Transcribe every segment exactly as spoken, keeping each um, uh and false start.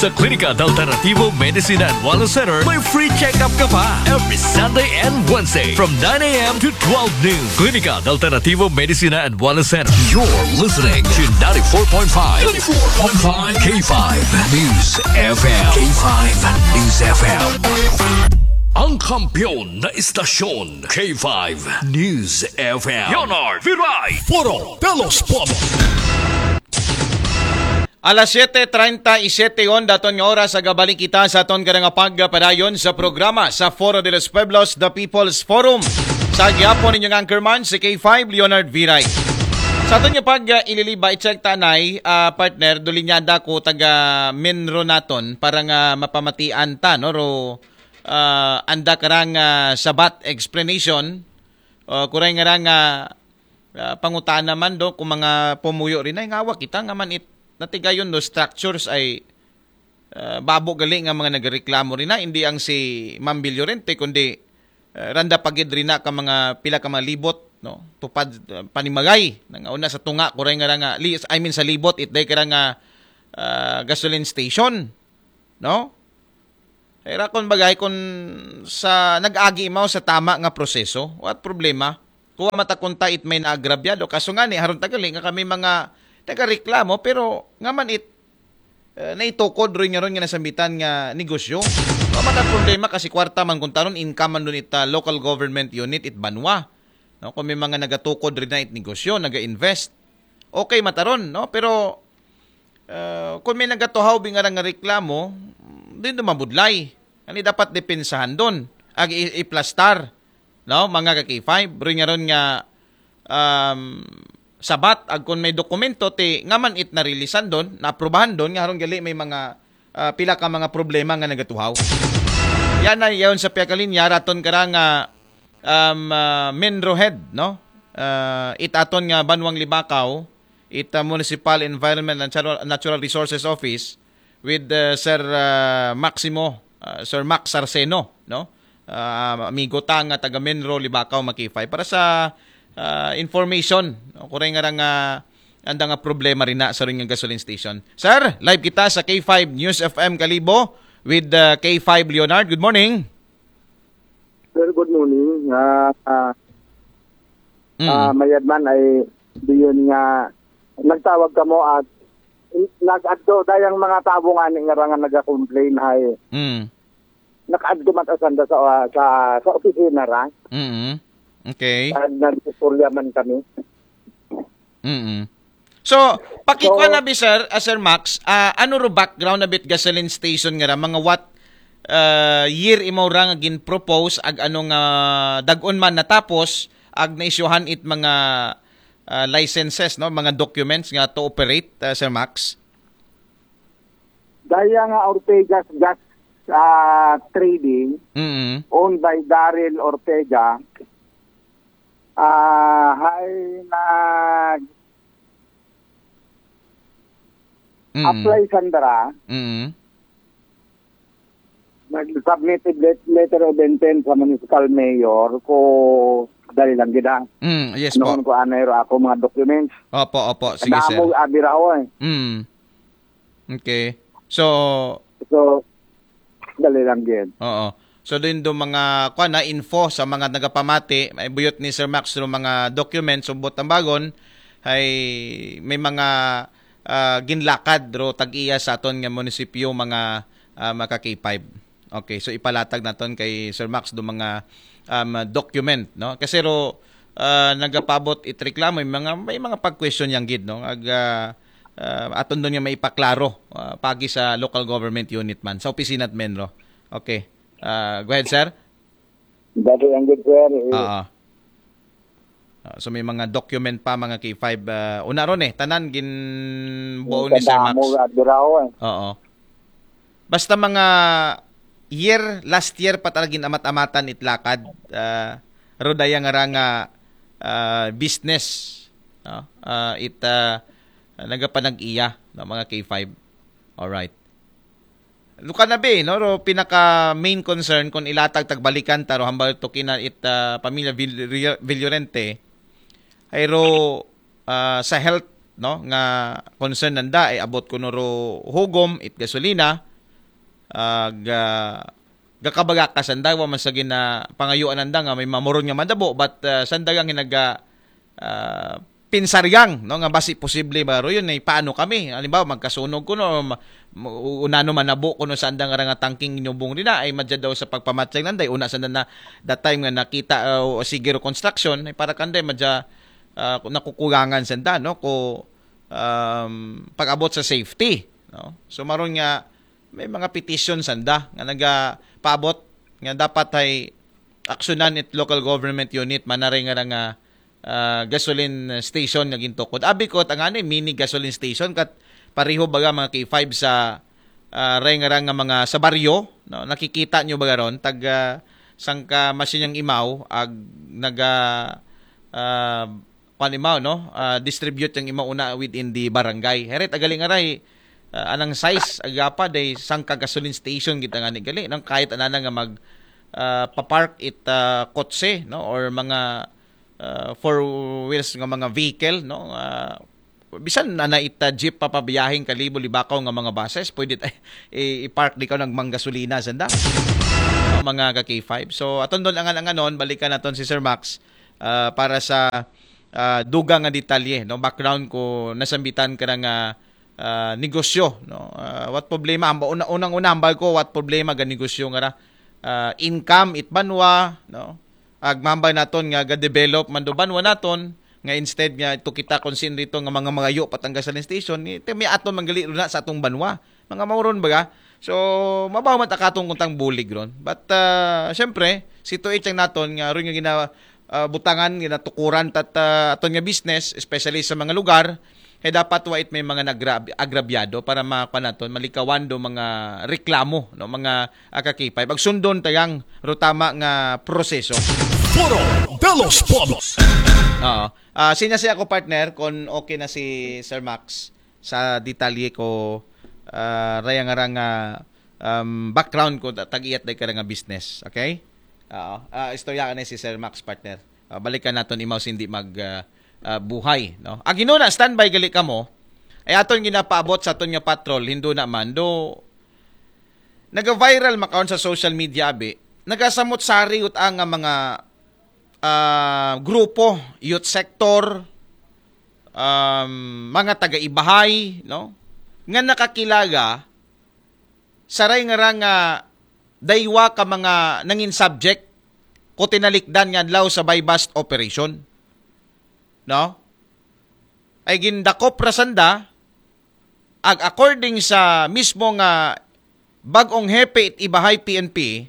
Sa Klinika Alternativo Medicina and Wellness Center, may free check-up ka pa every Sunday and Wednesday from nine a.m. to twelve noon. Klinika Alternativo Medicina and Wellness Center. You're listening to ninety-four point five, ninety-four point five K five News F M. K five News F M. Ang kampiyon na istasyon, K five News F M. Leonard Viray. Foro de los Pueblos. Alas siete treinta y siete on daton nga oras, agabalik kita sa aton karang pagpadayon sa programa sa Foro de los Pueblos, The People's Forum. Sa gihapon, inyong anchorman, si K five Leonard Viray. Sa aton nga pag, ah, ililiba, i-check ta, nay, ah, partner, dulinyada ko taga Menro naton para nga mapamatian ta, no? Ro, ah, anda karang, ah, sabat explanation, ah, kuray nga rang, ah, ah, pangutana man do kung mga pumuyo rin ay ngawa kita nga man it natigayon do structures ay, ah, babo gali nga mga nagreklamo rin na, hindi ang si Ma'am Villorente, kundi, ah, randa pagid rin na ka mga pila ka mga libot, no? Tupad, ah, panimagay, nangauna sa tunga, kuray nga ra nga, li-, I mean sa libot, itday ka ra nga, ah, gasoline station, no? Ay, rakon bagay kung sa nag-agi imaw sa tama nga proseso, what problema? Kuha mata kunta it may naagrabyado. Kaso nga ni, haron tagali nga kami mga nagareklamo, pero nga man it, eh, naitukod rin nga ron nga nasambitan nga negosyo. Kuha mata problema kasi kwarta man kunta ron, income man dun it, ah, local government unit, it banwa. No, kung may mga nagatukod rin na it negosyo, naga-invest, okay mataron, no? Pero, ah, kung may nagatuhaw bi nga nga reklamo, din do mabudlay. Ani dapat depensahan don. Ag i-, iplastar, no? Mga ka K five, rin nga ron nga, um, sabat, ag kung may dokumento, ti nga man it narilisan don, naaprubahan don, nga ron gali may mga, ah, pila ka mga problema nga nagatuhaw. Yan na, yaon sa piyakalinya, raton ka ra nga, um, ah, Menro Head, no? Ah, it aton nga Banwang Libakaw, it, ah, Municipal Environment and Natural, Natural Resources Office with, ah, Sir, ah, Maximo, ah, Sir Max Sarceno, no? Ah, amigo ta nga taga Menro, Libakaw, mga K five. Para sa, ah, information, no? Kuray nga ra nga anda nga problema rin na sa ring gasoline station. Sir, live kita sa K five News F M Kalibo with, ah, K five Leonard. Good morning. Sir, good morning. Ah, ah, Mm. Ah, mayad man ay diyon nga nagtawag kamo at nag-adto dayang mga tao nga ni nga ra nga naga-complain hay Mm. nakaadto man ta sanda sa, ah, sa, sa opisina ra. Mm. Okay. At nag-istorya man kami. Mm. So, pakikuha So, na bi, sir, ah, Sir Max, ah, ano ro background na bit gasoline station nga ra, mga what, ah, year imaw ra nga gin-propose, ag ano nga dag-on man natapos, ag naisyuhan it mga, ah, licenses, no, mga documents nga to operate, ah, Sir Max? Daya nga Ortega's Gas, ah, Trading, Mm. owned by Daryl Ortega, ah, hay nag Mm. apply sanda ra, Mm. nag-submit it let-, letter of intent sa municipal mayor ko dali lang gid, ah. Mm, yes po. Noon ko anay ro ako mga documents. Opo, opo. Sige, sir. Damo abi ra, oy. Mm. Okay. So, So, dali lang gid. Oo. So, din do mga, kuwan na, info sa mga nagapamati, may buyot ni Sir Max do mga documents, subot ang bagon, ay may mga, ah, ginlakad ro tag-iya sa aton nga munisipyo, mga, ah, mga ka K five. Okay, so ipalatag naton kay Sir Max do mga, um, document, no? Kasi ro, ah, nagapabot it reklamo, may mga, may mga pag-question yang gid, no? Ag, ah, ah, aton don nga maipaklaro, ah, pagi sa local government unit man, sa opisina at Menro. Okay. Ah, go ahead, sir. Dati ang good, sir. Eh, Oo. Ah, so may mga document pa, mga K five, ah, una ron eh, tanan ginbuo ni Sir Max. Kadamo, ah, diraw, eh. Oo. Basta mga year, last year pa talaga gin-amat-amatan it lakad, ah, ro daya nga ra nga, ah, business, no? Ah, it, ah, nagapanag-iya, no, mga K five. Alright. Luka na bi, no? Ro pinaka main concern kung ilatag tagbalikan ta ro hambal to kina it, ah, pamilya Vill-, Vill-, Villorente, ay ro, ah, sa health, no, nga concern nanda, ay abot kuno ro hugom, it gasolina, ah, ga, gakabagaka sanda, wa man sa gina pangayuan nanda nga may mamuron nga madabo, but, ah, sanda nga naga, ah, pinsariang, no, nga basi posible ba ro yun, ay paano kami? Halimbawa, magkasunog kuno, ma-, ma-, unano manabo kuno sanda nga nga tangking nyubong rin na, ay madya daw sa pagpamatyag nanday, una sanda na, that time nga nakita, ah, o sige ro construction, ay para kanday, madya, ah, nakukulangan sanda, no, ko, um, pag-abot sa safety, no? So, maron nga, may mga petition sanda nga nagapaabot nga dapat ay aksyonan it local government unit manaray nga nga, ah, gasoline station nga gintukod. Abi ko, tangani mini gasoline station kat pareho baga mga K five sa, ah, ray nga nga mga sa baryo, no? Nakikita nyo ba ron? Tag, ah, sangka masinyang imaw, ag naga, ah, kuan imaw, no? Ah, distribute yung imaw una within the barangay. Heret, agali nga ray, ah, anang size, agapa, day sangka gasoline station kita nga ni gali. Nang kahit anana nga mag, ah, papark it, ah, kotse, no? Or mga, ah, four wheels nga mga vehicle, no? Ah, bisan na na ita jeep papabiyahing kalibo libakaw nga mga buses, pwede ta-, i-, i-park di ka nagmanggasolina sanda. Mga ka K five. So, aton doon angan-anganon, balikan naton si Sir Max, ah, para sa, ah, dugang nga detalye, no? Background ko nasambitan ka nga, ah, negosyo, no? Ah, what problema? Hamba-, una, unang-una, hambal ko, what problema ga negosyo nga ra? Ah, income, it banwa, no? Agmambay naton nga ga-develop man do banwa naton, nga instead nga ito kita kung sin rito nga mga mangayo patang gasoline station, ito may aton manggali na sa atong banwa. Mga mauron baga. So, mabaw man takatong kuntang bulig ron. But, ah, syempre, si Tuit ang naton nga ron nga gina, ah, butangan, ginatukuran tat, ah, aton nga business, especially sa mga lugar, kaya dapat wait may mga nagrab-, agrabyado para makuha naton, malikawan do mga reklamo, no, mga akakipay. Pagsundon tayang rutama nga proseso. Foro de los Pueblos. Oo. Ah, sinya siya ako, partner, kung okay na si Sir Max sa detalye ko, ah, rayang-arang, ah, um, background ko, ta-, tag-iyat day ka nga business. Okay? Oo. Ah, istorya ka na si Sir Max, partner. Ah, balikan naton imaw sindi mag, ah, ah, buhay, no? Ag na, standby gali ka mo. Ay aton ginapaabot sa aton nga patrol, hindo naman, do naga-viral makaon sa social media, abi. Nagasamot sari ut ang nga mga, ah, grupo, youth sector, um, mga taga-ibahay, no? Nga nakakilaga, saray nga ra nga daywa ka mga nangin subject ko tinalikdan nga adlaw sa buy-bust operation. No? Ay gindakop ra sanda, ag according sa mismo nga bag-ong hepe it ibahay P N P,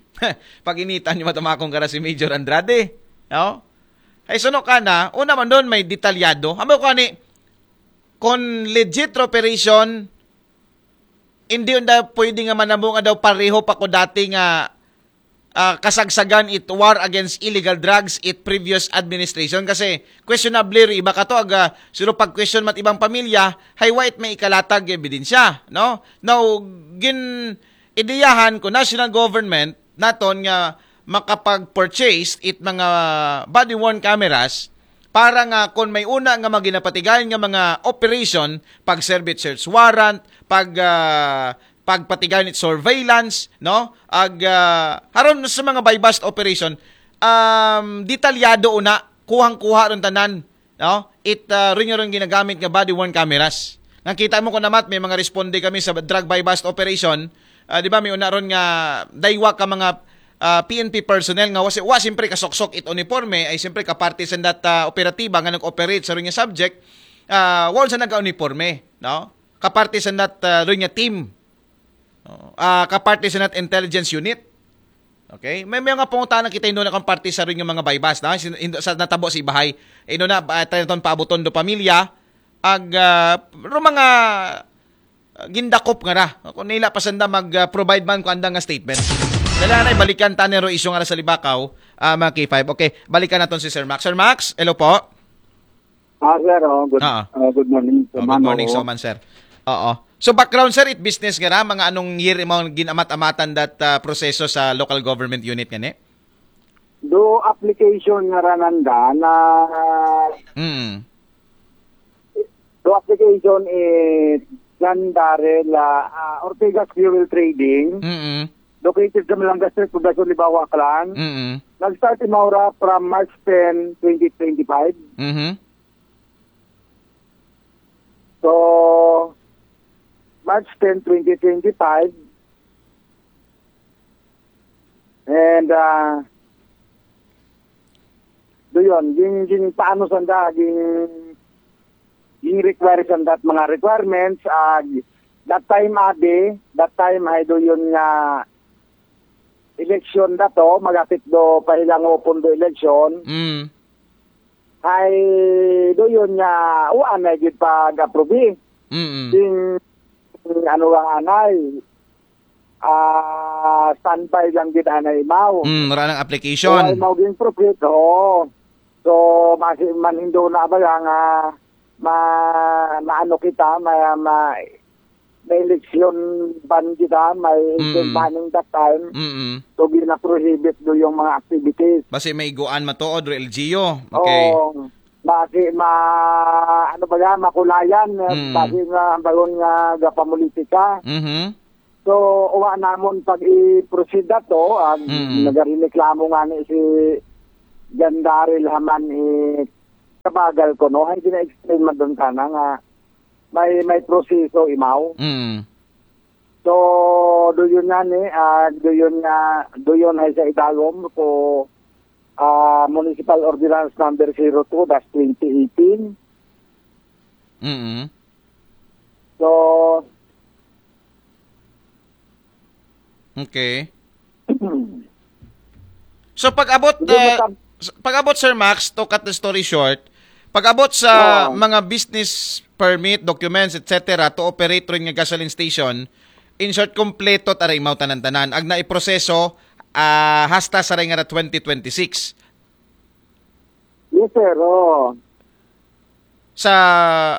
pag-initan ni matamakong kara si Major Andrade. No? Ay suno ka na, una man doon may detalyado. Hambal ko ani, kung legit operation, hindi unda pwede nga manamo nga daw pareho pa ko dati nga, ah, kasagsagan it war against illegal drugs it previous administration kasi questionable ri iba kato aga sino pag question mat ibang pamilya hay wait may ikalatag nga ebidensya, no? Now, gin ideyahan ko national government naton nga makapag-purchase it mga body-worn cameras para nga kung may una nga mga ginapatigayon nga mga operation, pag-serve it search warrant, pag, ah, pagpatigayon it surveillance, no? Ag, ah, haron sa mga buy-bust operation, um, detalyado una, kuhang-kuha ron tanan, no? It, ah, ron yung ginagamit nga body-worn cameras. Nakita mo ko namat, may mga responde kami sa drug buy-bust operation. Ah, di ba, may una ron nga daywa ka mga, ah, P N P personnel nga wa, wa siyempre kasuksok it uniforme, ay siyempre kaparte sa that, ah, operatiba nga nag-operate sa ron nga subject, ah, wa sa nag-uniforme, no? Kaparte sa that, ah, ron nga team. No? Ah, kaparte sa that intelligence unit. Okay? May, may mga pangutana kita hindo na kung parte sa ron nga mga buy-bust, na? Sin-, hindo, sa natabo sa ibahay. Hindo na, ah, tayo ton paabuton do pamilya, ag, ah, ro mga, ah, gindakop nga ra. Kung nila pa sanda mag-provide man kung anda nga statement. Dala na, balikan ta ni ro isyu nga ra sa Libakaw, ah, mga K five. Okay, balikan naton si Sir Max. Sir Max, hello po. Ah, sir, oh, good, Ah. ah, good morning, Oh, good Mano. Morning, so man, sir. Oo. So, background, sir, it business nga ra, mga anong year mo ginamat-amatan that, ah, proseso sa local government unit nga ni? Do application nga ra nanda na Mm. do application it John Darrell, ah, ah, Ortega's Fuel Trading, Mm-mm. located sa Malanga Street, Poblacion Libao, Aklan. Mm-mm. Nag-start imaw ra from March ten, twenty twenty-five. Mhm. So, March ten, twenty twenty-five. And, ah, do yun, ging, ging paano sanda, ging, ging require sanda at mga requirements, ah, that time adi, that time ay do yun nga election na to, magapit do pahilango pun do election. Mm. Ay, do yun nga, uan na gid pag-approve. Mm-mm. Sing, ano lang anay, ah, standby lang gid anay imaw. Mm, wala nang So, application. ay mao ging profit, oo. So, masi man hindo na ba nga ma, maano kita, ma, ma, may election ban kita, may Mm. election banning that time. Mm-mm. So, gina-prohibit do yung mga activities. Basi may iguan matuod, Ro L G U. Okay. Oo. Basi ma, ano ba yan, makulayan, Mm. basi nga bayon nga gapamulitika. Mhm. So, uwa namon pag i-proceed na to, ag Mm. nagarireklamo nga ni si John Darrell haman i kabagal ko, no? Ay, gina-explain man doon sana nga may, may proseso imaw. Mm. So, do yun nga ni, ah, do yun nga, do yun ay sa idalom ko, ah, Municipal Ordinance Number zero two dash twenty eighteen. Mm-mm. So, Okay. So pag-abot Hindi uh, matab- s- pag-abot, Sir Max, to cut the story short, pag-abot sa Oo. mga business permit, documents, et cetera to operate rin nga gasoline station, in short, kompleto ta ra imaw tanan-tanan. Ag naiproseso ah, hasta sa ray nga ra twenty twenty-six. Yes, sir. Oh. Sa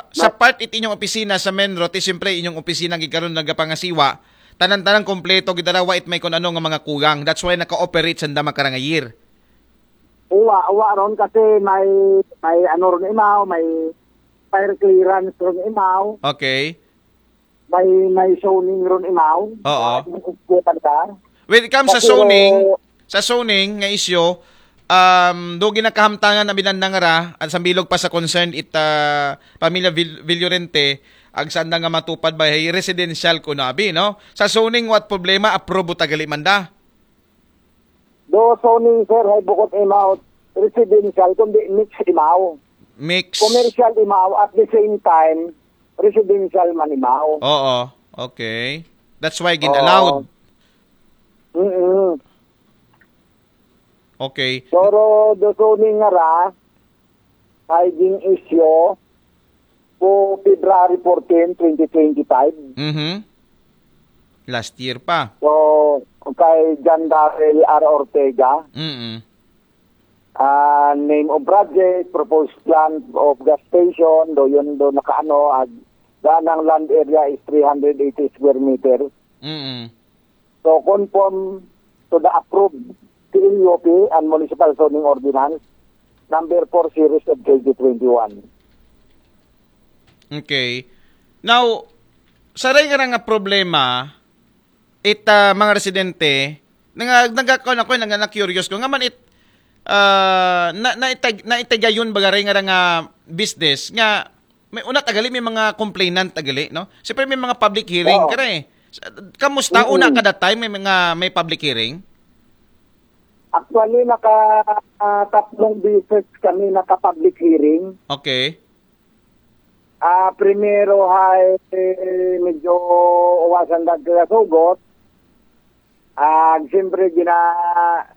sa But- part it inyong opisina sa Menro, ti siyempre inyong opisina gid karon nagapangasiwa, tanan-tanan kompleto gid ara, wa it may kun ano nga mga kulang. That's why naka-operate sanda makarang nga year. Uwa, uwa ron kasi may, may ano ron imaw, may fire clearance ron imaw, Okay. may, may zoning ron imaw. Oo. Yung upo ka na. When it comes sa Kasi, zoning, oh, sa zoning nga issue, um, do ginakahamtangan na binandang ra, at sa bilog pa sa concern it ah, pamilya Vil- Villorente, ag sanda nga matupad ba, hey, residential ko na abi, no? Sa zoning, what problema, approve tagali man da. Do zoning, sir, hay bukod imaw residential, kundi mix imaw. Mix. Commercial imaw, at the same time, residential man imaw. Oo. Okay. That's why gin-allowed. Mm-mm. Okay. Pero do zoning nga ra, ay ging issue po February fourteen, twenty twenty-five. Mhm. Last year pa. So, kay John Darrell R. Ortega, Mm. ah, name of project, proposed plan of gas station, do yun do nakaano, ag ganang land area is three hundred eighty square meter. Mm. So, conform to the approved C L U P and Municipal Zoning Ordinance number four series of twenty twenty-one. Okay. Now, sa ray nga nga problema, it ah, mga residente, nanga nagakaw na ko, nanga na-curious ko nga man it ah, na naitag naitagayon ba ray nga nga business nga may una tagali may mga complainant tagali, no? Siyempre may mga public hearing Oo. ka eh. Sa- Kamusta Oo. Una kada time may mga may public hearing? Actually, naka ah, tatlong beses kami naka-public hearing. Okay. Ah, primero hay medyo uwasan dagdag sugot. Ah, siyempre gina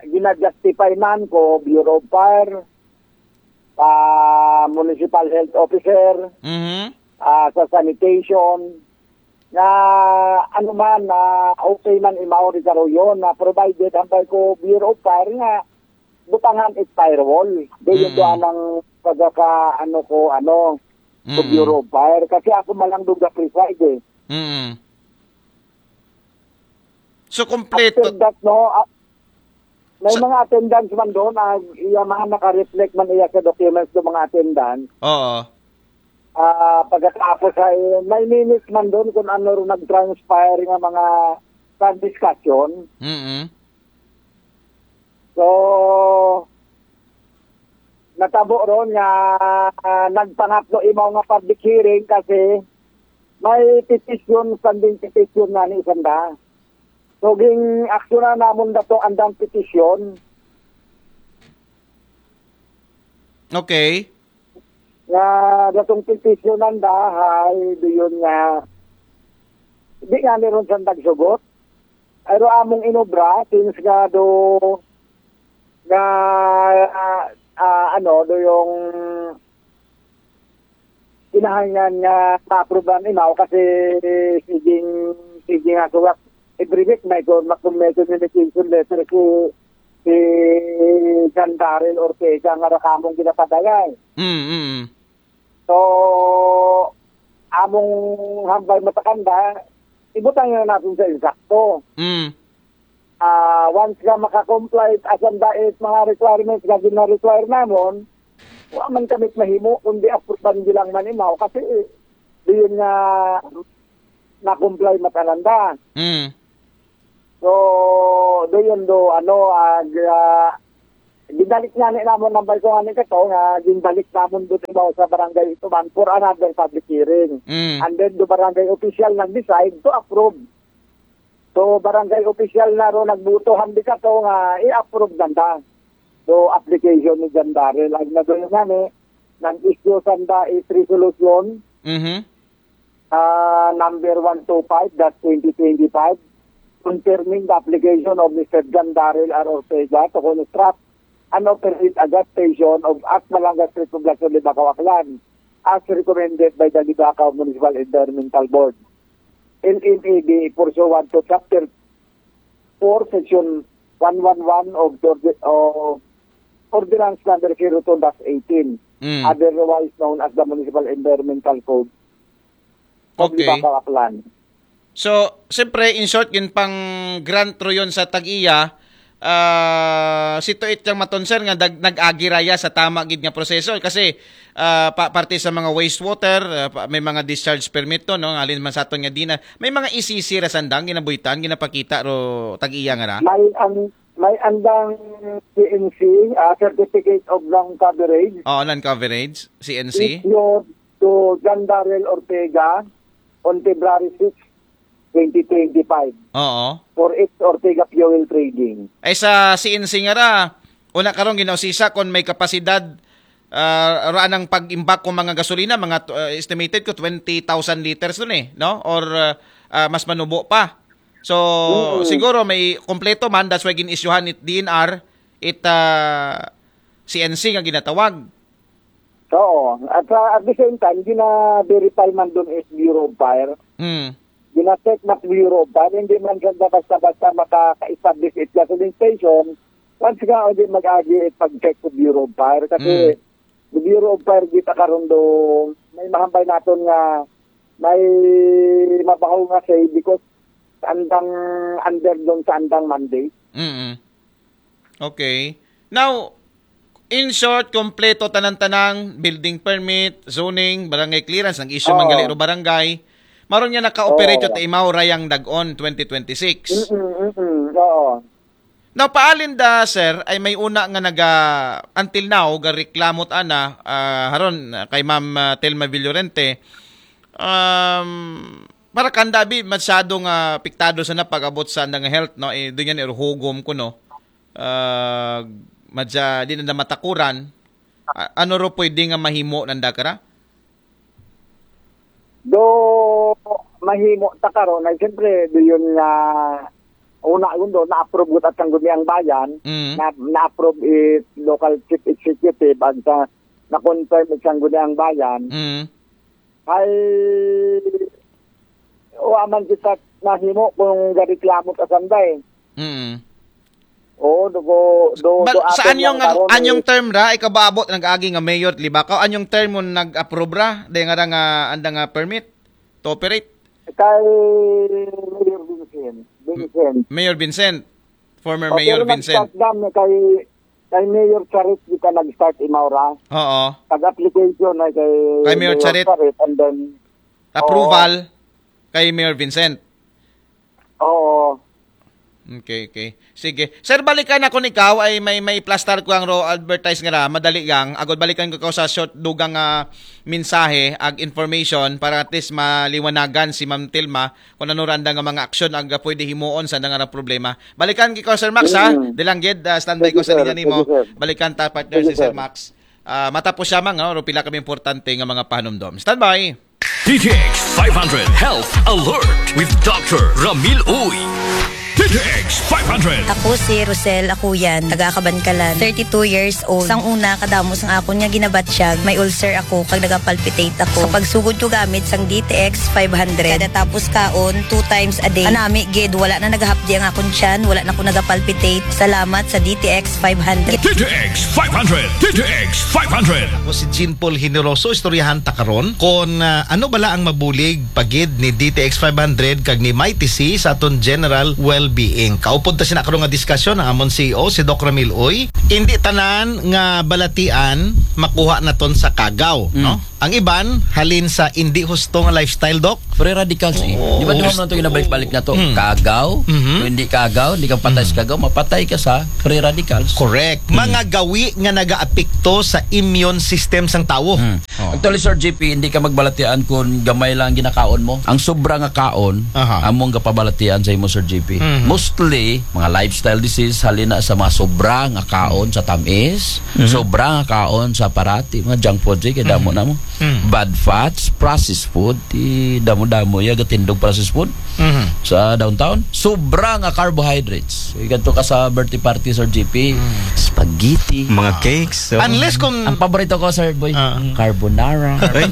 gina-justify man ko Bureau of Fire, pa Municipal Health Officer, Mhm. ah, sa sanitation, na ano man, na okay man imaw ri karuyon, na provided hambal ko Bureau of Fire nga butangan it firewall. Di Mm. ito anang pagka ano ko, ano, ko Mm. Bureau of Fire. Kasi ako man lang doon ga-preside eh. Mm. So kompleto. After that, no, ah, may Sa- mga attendance man doon, ah, iya man naka-reflect man iya sa documents ng mga attendance. Oo. Ah, pagkatapos ay may minutes man doon kung ano rin nag-transpire nga mga sa discussion. Mm. So, natabo ron nga, ah, nagpangatlo imaw nga public hearing kasi may petition, standing petition nga ni Sanda. So, ging aksyonan namon dato andang petition Okay. nga datong petition nanda hay doon nga di nga ni ron sa nagsugot. Pero among inobra, since nga do nga, ah, ah, ano, do yung kinahanglan nga ma-approve ang imaw kasi siging, siging nga suwat. Every week may ko, may communication letter si, si John Daryl Ortega nga rakamong ginapadayay. Mm, mm. So, among hambal matakanda, ibutang na natin sa insakto. Mm. Ah, once nga makakomply, asan ba it mga requirements nga gina-require namon, wa man kami mahimo, kundi approvean bilang manimaw. Kasi, eh, di yun nga na-comply matananda. Mm. So, do yun do, ano, ag, ah, gibalik nga ni namon ng balso nga ni Kato, nga ginbalik namon do diba sa barangay ito man for another public hearing. Mm. And then, do barangay official nag-decide to approve. So, barangay official na ro nagbuto, hambal Kato nga i-approve nanda. So, application ni John Daryl. Ang nadul nga ni, nag-issue sanda is resolution Mhm. uh, number one two five dash twenty twenty-five, confirming the application of Mister John Daryl R. Ortega to construct and operate a gas station of at Malangas Street, Poblacion, Libacao, Aklan, as recommended by the Libacao Municipal Environmental Board, L M E B, pursuant to Chapter four, Section one one one of the ordi- of Ordinance Number zero two dash eighteen, Mm. otherwise known as the Municipal Environmental Code of Okay. Libacao, Aklan. So, siyempre, in short, yun pang grant ro yun sa tag-iya, ah, situate yang maton, sir, nga dag- nag-agi raya sa tama gid nga proseso kasi ah, pa- parte sa mga wastewater, ah, pa- may mga discharge permit to, no? Alin man sa aton nga dina, may mga E C C ra sandang ginabuhitan, ginapakita ro tag-iya nga ra. May an may andang C N C, ah, Certificate of Non-Coverage, Oo, non-coverage, C N C. issued to John Daryl Ortega on February six, twenty twenty-five Oo. for its Ortega Fuel Trading. Ay sa C N C nga ra, una karon ginausisa kung may kapasidad ah, ra nang pag-imbak kung mga gasolina, mga uh, estimated ko twenty thousand liters dun eh, no? Or uh, ah, mas manubo pa. So, Mm. siguro may kompleto man, that's why gin-issuehan it D N R, it ah, C N C nga ginatawag. Oo. At, ah, at the same time, gina-verify man dun is Bureau of Fire. Hmm. Gina-check na Bureau of Fire. Hindi man siya basta-basta makaka-establish it gasoline station. Once nga, hindi mag-agi it pag-check sa Bureau of Fire. Kasi Mm. the Bureau of Fire, kita karon do, may mahambal naton nga may mabaho nga say because andang under doon sa andang mandate. Mm. Okay. Now, in short, kompleto tanan-tanang building permit, zoning, barangay clearance, nag-issue man Oo. gali ro barangay. Maron nga naka-operate Oo. ta imaw rayang dag-on twenty twenty-six. Mm-mm, mm-mm. Oo. Now, paalin da, sir, ay may una nga naga, until now, gareklamo ta ana, ah, haron, ah, kay Ma'am ah, Telma Villorente, um, para kanda bi masyado nga apektado sa na pag-abot sa andang health, no? Eh, doon yan iruhugom ko, no? Ah, madya, di na matakuran. A- ano ro pwede nga mahimo nanda kara? Do mahimo ta karon ay siyempre do yun nga una yun do na-approve gud at sangguniang bayan, Mm. na, na-approve it local chief executive at sa na-confirm it sangguniang bayan. Mm. Ay wa man kita mahimo kung gareklamo ta sanday. Mm. Oo, do do do, Bal- do sa aton anyong lang karon, anyong eh. Term ra ikabaabot nag-agi nga mayor Libacao, anyong term mo nag-approve ra day nga ra nga anda nga permit to operate? Kay Mayor Vincent. Vincent. Mayor Vincent, former O, Mayor pero Vincent. Nag-shutdown na kay Kay Mayor Charit kita nag-start, Imaura. Oo. Pag-application ay kay Kay Mayor Mayor Charit. Charit, and then Approval kay Mayor Vincent. Oo. Okay, okay. Sige. Sir, balikan ako ni ikaw ay may may plastar ko ang ro advertise nga ra, madali gang. Agod balikan ko ikaw sa short dugang nga mensahe ag information para at least maliwanagan si Ma'am Tilma kung ano randa nga mga aksyon ang pwede himuon sa nga ra problema. Balikan ko ikaw, Sir Max, ha? Mm. Dilanggid, ah, standby Thank ko you, sa sir. Linya Thank nimo. You, sir. Balikan ta, partner, Thank you, si Sir sir. Max. Ah, matapos siya, mang, no? Pero pila kami importante nga mga panumdom. Standby! D T X five hundred Health Alert with Doctor Ramil Uy. D T X five hundred. Ako si Rosel Akuyan, taga Kabankalan, thirty-two years old. Sang una, kadamo sang akon nga ginabatyag, may ulcer ako, kag nagapalpitate ako. Sa pagsugod ko gamit sang D T X five hundred, kada tapos kaon, two times a day. Anami gid, wala na nagahapdi ang akon tiyan, wala na ko nagapalpitate. Salamat sa D T X five hundred. D T X five hundred. D T X five hundred. Ako si Jean Paul Generoso, istoryahan ta karon kon, ah, ano bala ang mabulig pagid ni D T X five hundred kag ni Mighty C sa aton general well-being. Kaupod ta sina karon nga diskusyon ang amon C E O, si Doc Ramil Uy. Hindi tanan nga balatian makuha naton sa kagaw, Mm. no? Ang iban halin sa hindi husto nga lifestyle, Doc. Free radicals, eh. Oo. Di ba, duha man to ginabalik-balik na to? Mm. Kagaw, Mhm. kung hindi kagaw, hindi ka patay sa Mm. kagaw, mapatay ka sa free radicals. Correct. Mm. Mga gawi nga nagaapekto sa immune system sang tawo. Mm. Oh. Actually, Sir G P, hindi ka magbalatian kung gamay lang ginakaon mo. Ang sobra nga kaon, Aha. among gapabalatian sa imo, Sir G P. Mhm. Mostly, mga lifestyle disease, halin na sa mga sobra nga kaon sa tamis, Mhm. sobra nga kaon sa parati, mga junk food, eh, kay damo Mhm. na mo. Mm. Bad fats, processed food, ti damo-damo ya gatindog processed food Mhm. sa downtown. Sobra nga carbohydrates. Igadto ka sa birthday party, Sir G P. Mm. Spaghetti. Mga cakes, so. Unless kung Ang paborito ko, Sir Boy, Ah. carbonara. Ay.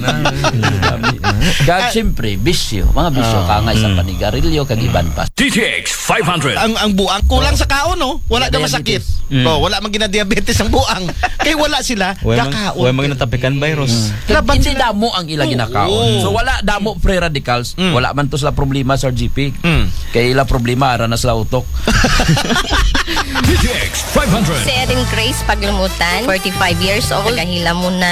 Kag siyempre, bisyo. Mga bisyo, Ah. kangay sa Mm. panigarilyo, kag iban pa. D T X five hundred. Ang, ang buang kulang sa kaon, no? Wala na Diabetes. masakit. Mm. Oh, wala man gina-diabetes ang buang. Kay wala sila Way mang, gakaon. way mang natapikan virus. Mm. Laban Hindi sila. damo ang ila ginakaon. Oo. So, wala damo free radicals. Mm. Wala man to sila problema, Sir G P. Mm. Kay ila problema, ara na sila utok. D T X five hundred. Si Erin Grace Paglumutan, forty-five years old, nagahila mo na.